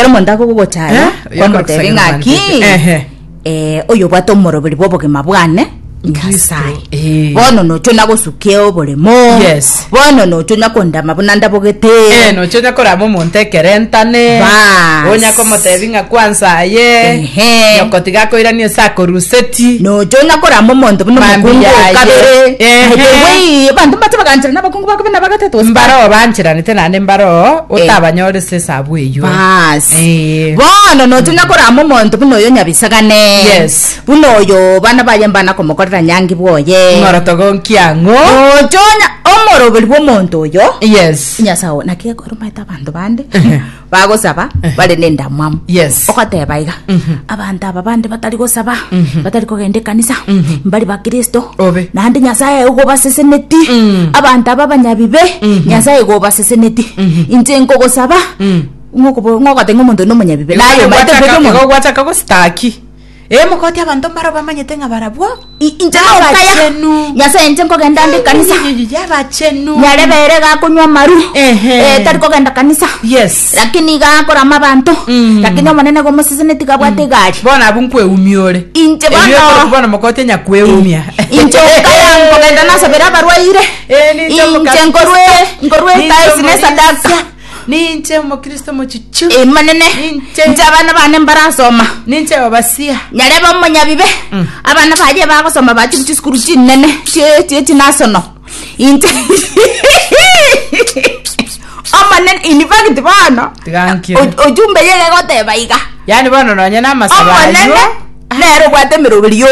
Ekero omonto akogogochaya, Eh, kwamotebia ng'a ki Ehe. eh, oyo obwate omoroberi bw'obogima bwane Nyasae. Eh. Bono nocho nagosukia oboremo. Yes. Bono nocho nyakondama buna ndabogete. Eh, nocho onya korama omonto ekerentane Bas. onya komotebi ng'a kwansa aye Ehe. nyoko tiga akoiranie ase akoruseti Nocho nyakorama omonto buna Mambi omokungu yaye. okabere. Ehe. By the way, abanto mbache bagancherana abakungu bakabe na bagatatu gose mbaroo bancheranete naende mbaroo otabanyore ase esabu eywo Bas. Eh. Bono nocho nyakorama omonto buna oyo nyabisagane. Yes. Buna oyo bana baye mbana komokorera nyangi bwoye. Ng'oroto gonkia ng'o Nocho nya omoroberi bw'omonto oyo. Yes. Nyasae oo, naki ekoromete abanto bande bagosaba bare nendamwamu. Yes. Ogoteba iga, abanto aba bande batari gosaba, batari kogenda ekanisa, mbari bakristo, Obe. naende Nyasae ogobaseseneti, abanto aba abanyabibe, Nyasae ogobaseseneti. Inche nkogosaba, ng'okobo- ng'ogoteba ng'a omonto oyo nomonyabibe. Naye omanyete Igo mbobe gwachaka- omonto. igo gwachaka gositaki Ee, mokoti abanto mbaro bamanyete ng'a barabwo I- inche nokaya Abachenu. nyasaye inche nkogenda nde kanisa abachenu nyarebe ere gakonywa amaru Ehe. eh, tari kogenda kanisa yes lakini iga akorama abanto Mm. lakini omonene gomoseseneti gabwate egari bono abwo nkweumia ore Inche Ebio bono- ekero bono mokoti onyakweuumia inche okaya nkogenda nasabera abarwaire Eh, ninche inche omokristo. nkorwe nkorwe Ninche etaisi ne omorisia. esadaka Ninche omokristo mochichu. Emanene, Ninche. inche abana bane mbarasoma. Ninche obasia. Nyarebe omonyabibe, abana baye bagosoma bachire chisukuru chinene chie chie chinasono. Inche Omonene, in fact bono, Tiga nkire. o- ojumbe yere egoteba iga. Yaani bono nonye namasabo Omonene aywo. nere obwate emeroberi yo.